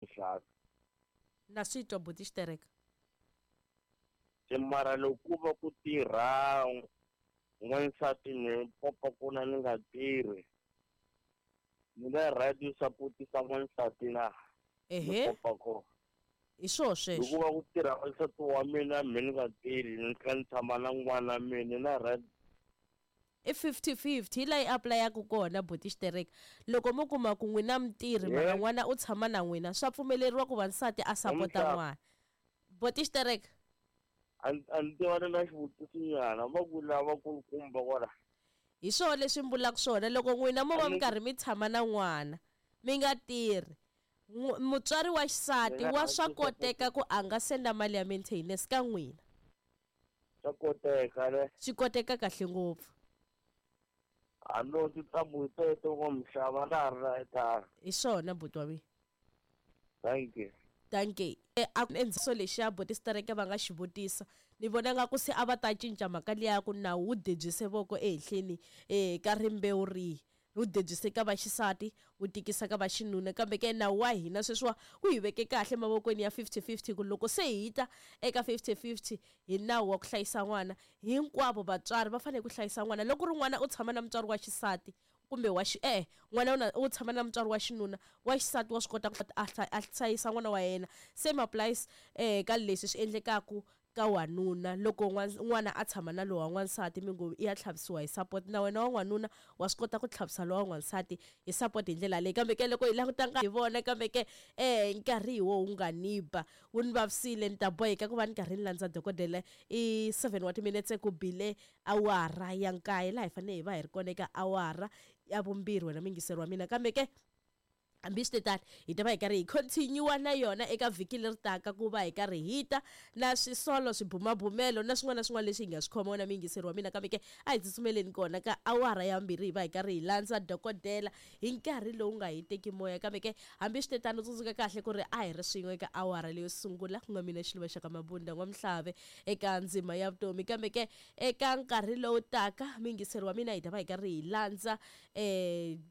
Nxaka. Na swi twa buti Xitereka. Se mara loko ku va ku tirha n'wansati ni popa kona ni nga tirhi, ni na right yo sapotisa n'wansati na? Ni Ehe. popa kona. Hi swoho sweswo. Loko va ku tirha n'wansati wa mina me ni nga tirhi, ni tlhela ni tshama na n'wana mina, ni na right. I 50-50 hi laha yi apulayaku kona buti Xitereka. Loko mo kuma ku n'wina mi tirhi mara n'wana u tshama na n'wina, swa pfumeleriwa ku va nsati a sapota n'wana. Buti Xitereka. A ni tiva ni na xivutiso nyana, va ku lava kulukumba kwala. Hi swona leswi mi vulaka swona, loko n'wina mo va mi karhi mi tshama na n'wana mi nga tirhi, mutswari wa xisati wa swa koteka ku a nga senda mali ya maintenance ka n'wina. Swa koteka ne? Swi koteka kahle ngopfu. A no tintambu hi teto ngo mixava na ha ri na airtime. Hi swona buti wa mina. Thank you. Dankie. A ku endziso lexiya buti Stereke va nga xi vutisa, ni vona nga ku se a va ta cinca mhaka liya ya ku nawu wu debyise voko ehenhleni ka rimbewu rihi. Wu debyise ka vaxisati, wu tikisa ka vaxinuna. Kambe ke nawu wa hina sweswiwa wu hi veke kahle emavokweni ya 50-50 ku loko se hi ta eka 50-50 hi nawu wa ku hlayisa n'wana, hinkwavo vatswari va fanele ku hlayisa n'wana. Loko ku ri n'wana u tshama na mutswari wa xisati kumbe wa xi, e-e, n'wana u na, u tshama na mutswari wa xinuna, wa xisati wa swi kota ku a a hlayisa n'wana wa yena. Same applies ka leswi swi endlekaku ka wanuna loko n'wana a tshama na lowa n'wansati mi ngo i ya tlhavisiwa hi support, na wena wa n'wanuna wa swi kota ku tlhavisa lowa n'wansati hi support hi ndlela leyi. Kambe ke loko hi languta hi vona kambe ke nkarhi hi wo wu nga ni ba, wu ni vavisile, ni ta boheka ku va ni karhi ni landza dokodela. I 7 wa timinetse ku bile awara ya nkaye, laha hi fanele hi va hi ri kona eka awara ya vumbirhi, wena muyingiseri wa mina. Kambe ke hambi swi te tano, hi ta va hi karhi hi continue na yona eka vhiki leri taka ku va hi karhi hi ta na swisolo, swibumabumelo na swin'wana na swin'wana leswi hi nga swi khoma, wena muyingiseri wa mina. Kambe ke a hi tsutsumeleni kona ka awara ya vumbirhi hi va hi karhi hi landza dokodela hi nkarhi lowu nga hi teki moya. Kambe ke hambi swi te tano, tsundzuka kahle ku ri a hi ri swin'we eka awara leyo sungula, ku nga mina Xiluva xa ka Mabunda N'wamuhlave eka ndzima ya vutomi. Kambe ke eka nkarhi lowu taka, muyingiseri wa mina, hi ta va hi karhi hi landza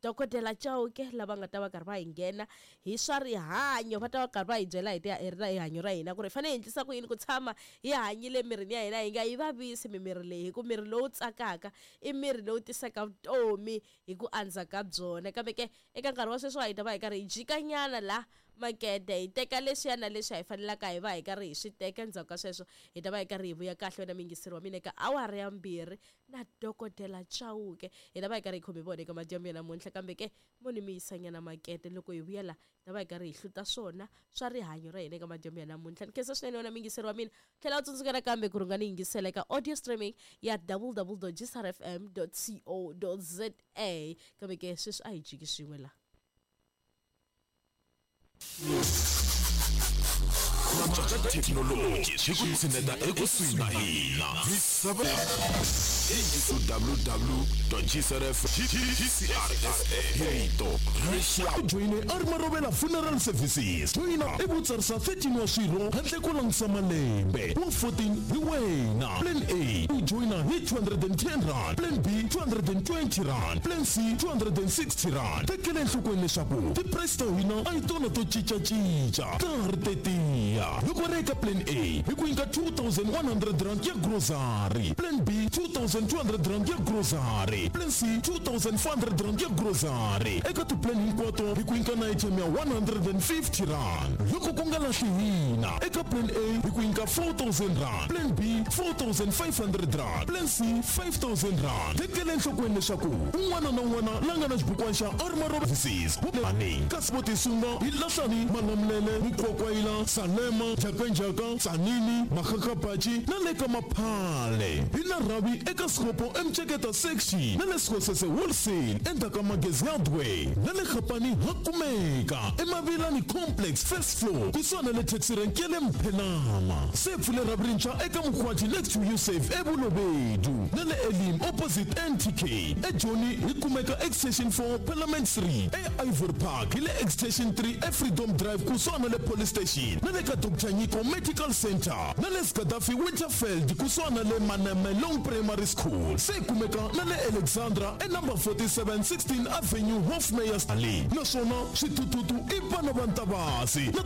Dokodela Chauke lava nga ta va karhi va hi nghena hi swa rihanyo, va ta va karhi va hi byela hi ta rihanyo ra hina ku ri hi fanele hi endlisa ku yini ku tshama hi hanyile emirini ya hina, hi nga yi vavisi mimiri leyi, hi ku miri lowu tsakaka i miri lowu tisaka vutomi hi ku andza ka byona. Kambe ke eka nkarhi wa sweswiwa hi ta va hi karhi hi jikanyana la makete, hi teka leswiya na leswi hi fanelaka hi va hi karhi hi swi teka. Endzhaku ka sweswo hi ta va hi karhi hi vuya kahle, wena muyingiseri wa mina, eka awara ya vumbirhi na Dokodela Chauke. Hi ta va hi karhi hi khome vona eka madyambu ya namuntlha, kambe ke mo ni mi yisanyana makete. Loko hi vuya la, hi ta va hi karhi hi hluta swona swa rihanyo ra hina eka madyambu ya namuntlha. Ni khensa swinene wena muyingiseri wa mina. Tlhela u tsundzuka nakambe ku ri u nga ni yingisela eka audio streaming ya www.gsrfm.co.za. Kambe ke sweswi a hi jiki swin'we la. Ku cinca ka thekinoloji swi ku tshineta ekusuhi na hina. Misava www.gcrf.gcrsa hi rito ra U joyine a ri Marovela Funeral Services. Joyina ivi u tsarisa 13 wa swirho handle ko langusa malembe. Wa 14 hi wena. Plan A u joyina hi R210, Plan B R220, Plan C R260. Tekela enhlokweni leswaku ti-price ta hina a hi tona to cinca-cinca, ta ha ri tetiya. Loko ri eka Plan A hi ku nyika R2100 ya grocery, Plan B R2200 ya grocery, Plan C R2400 ya grocery. Eka ti-plan hinkwato hi ku nyika na airtime ya R150. Loko ku nga lahli hina, eka Plan A hi ku nyika R4000, Plan B R4500, Plan C R5000. Tekela enhlokweni leswaku un'wana na un'wana la nga na xibukwana xa Armaro Services ani kasi vo tisunga hi Lahlani, Malamulele, Mukwakwayila, Salema, Njhakanjhaka, Tsanini, Makgakgabatši na le ka Maphale. Hi na rhavi eka Sekgopo eMceketa Section na le Sekgosese Wholesale endzhaku ka Magezi Hardware na le Kgapane ha kumeka eMavilani Complex first floor kusuhana na le taxi rank ya le Mphenama. Se pfule rhavi rintshwa eka Mokgwathi next to Usave eBolobedu na le Elim opposite NTK. EJoni hi kumeka Extension 4 Parliament Street, eIvory Park hi le Extension 3 eFreedom Drive kusuhana na le Police Station na le ka Doctor Nyiko Medical Centre na le Gaddafi Winterfeld kusuhana na le Manamelong Primary School. Se hi kumeka na le Alexandra e number 47 16 Avenue Hofmeyr Alley. Naswona swithuthuthu i vana va Ntavasi na.